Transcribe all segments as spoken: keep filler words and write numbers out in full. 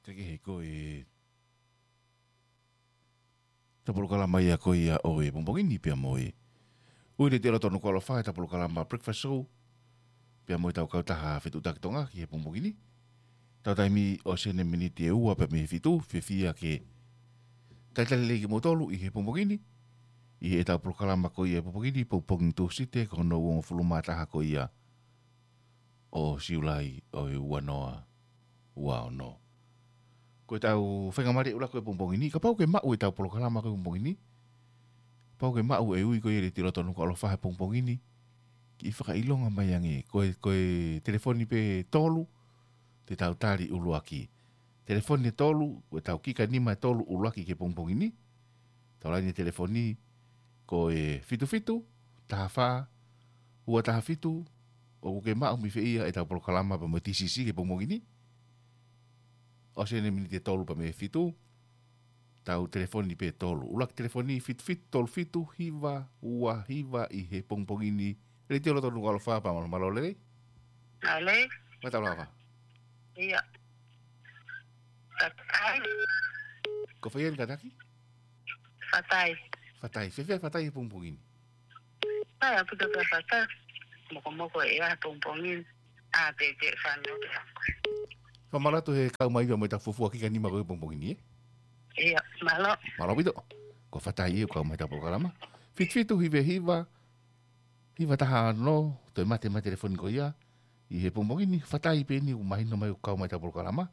Ke kehe ko e tau polokalama ia ko ia ʻo e pongipongi ni pea mo e ʻUi Letiō Loto Nukuʻalofa, ʻetau polokalama Breakfast Show pea mo ʻetau kautaha fetuʻutaki Tonga ki he pongipongi ni. Tau taimi ʻosi ʻeni miniti ʻe ua pea mei he fitu, fiefia ke talitali lelei kimoutolu ʻi he pongipongi ni ʻi heʻetau polokalama ko ia he pongipongi ni, pongipongi Tūsite, ko hono uongofulu mā taha ko ia ʻo Siulai ʻo e ua noa ua ono. Ko ʻetau faingamālie ʻuluaki ko e pongipongi ni, kapau ʻoku ke maʻu ʻetau polokalama ko e pongipongi ni, kapau ʻoku ke maʻu e ʻUi ko ia Letiō Loto Nukuʻalofa he pongipongi ni, kiʻi fakaʻilonga mai ange, ko e, ko e telefoni pē ʻe tolu te tau tali ʻuluaki. Telefoni ʻe tolu, ko ʻetau kika nima ʻe tolu ʻuluaki ki he pongipongi ni. Tau laine telefoni ko e fitu fitu, taha fā, ua taha fitu, ʻoku ke maʻu mei fē ia ʻetau polokalama pea mo e T C C ki he pongipongi ni. ʻOsi ʻeni miniti ʻe tolu pea mei he fitu, tau telefoni pē ʻe tolu. ʻUluaki telefoni fitu fitu tolu fitu hiva ua hiva ʻi he pongipongi ni. Letiō Loto Nukuʻalofa, pea mālō, mālō lelei. Mālō. Mālō lava. ʻIo. Fatai. Ko fē ia ʻeni kātaki? Fatai. Fatai. Fēfē ʻa Fatai he pongipongi ni? Fatai, ʻaupito pē ʻa Fatai. Mokomoko ʻa e pongipongi ni. ʻA, pē, pē, fano. Fakamālō atu he kau mai pea mo ʻetau fuofua kika nima ko e pongipongi ni, ē? ʻIo, mālō. Mālō ʻaupito. Ko Fatai ʻoku kau mai heʻetau polokalama. Fitu fitu hiva hiva, hiva taha ono, toe mate mai telefoni ko ia ʻi he pongipongi ni. Fatai pē ʻeni ʻoku mahino mai ʻoku kau mai heʻetau polokalama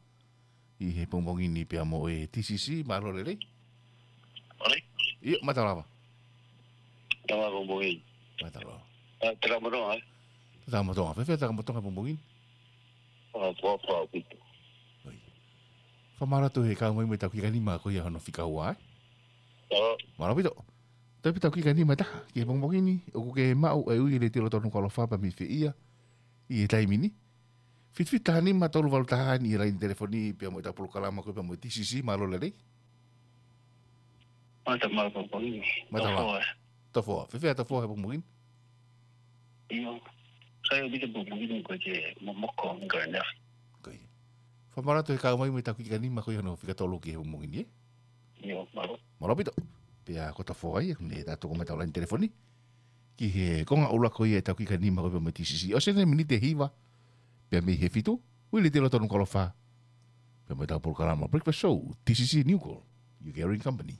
ʻi he pongipongi ni pea mo e T C C, mālō lelei. Mālō. ʻIo, mālō lava. Mālō pongipongi. Mālō lava. ʻA, Takamotonga, ē? Takamotonga. Fēfē Takamotonga pongipongi ni? ʻA, fua, fua, ʻaupito. ʻOi. Fakamālō atu he kau mai mo ʻetau kika nima ko ia hono fika ua, ē? ʻO. Mālō ʻaupito. Toe pē ʻetau kika nima ʻe taha ki he pongipongi ni, ʻoku ke maʻu e ʻUi Letiō Loto Nukuʻalofa pea mei fē ia ʻi he taimi ni? Fitu fitu taha nima tolu valu taha ʻeni ʻi he laine telefoni pea mo ʻetau polokalama ko ia pea mo e T C C, mālō lelei. Mālō, mālō pongipongi ni. Mālō. Tofoa. Tofoa. Fēfē ʻa Tofoa he pongipongi ni? ʻIo. Sai ʻaupito pongipongi ni, ko e momoko, ko e nea. Ko ia. Fakamālō atu he kau mai mo ʻetau kika nima ko ia hono fika tolu ki he pongipongi ni, ē? ʻIo, mālō. Mālō ʻaupito. Pea ko Tofoa ia, ne ta toko mai ʻetau laine telefoni ki he konga ʻuluaki ko ia ʻetau kika nima ko ia pea mo e T C C. ʻOsi ʻeni miniti ʻe hiva pea mei he fitu, ʻUi Letiō Loto Nukuʻalofa pea mo ʻetau polokalama Breakfast Show, T C C New Call, your caring company.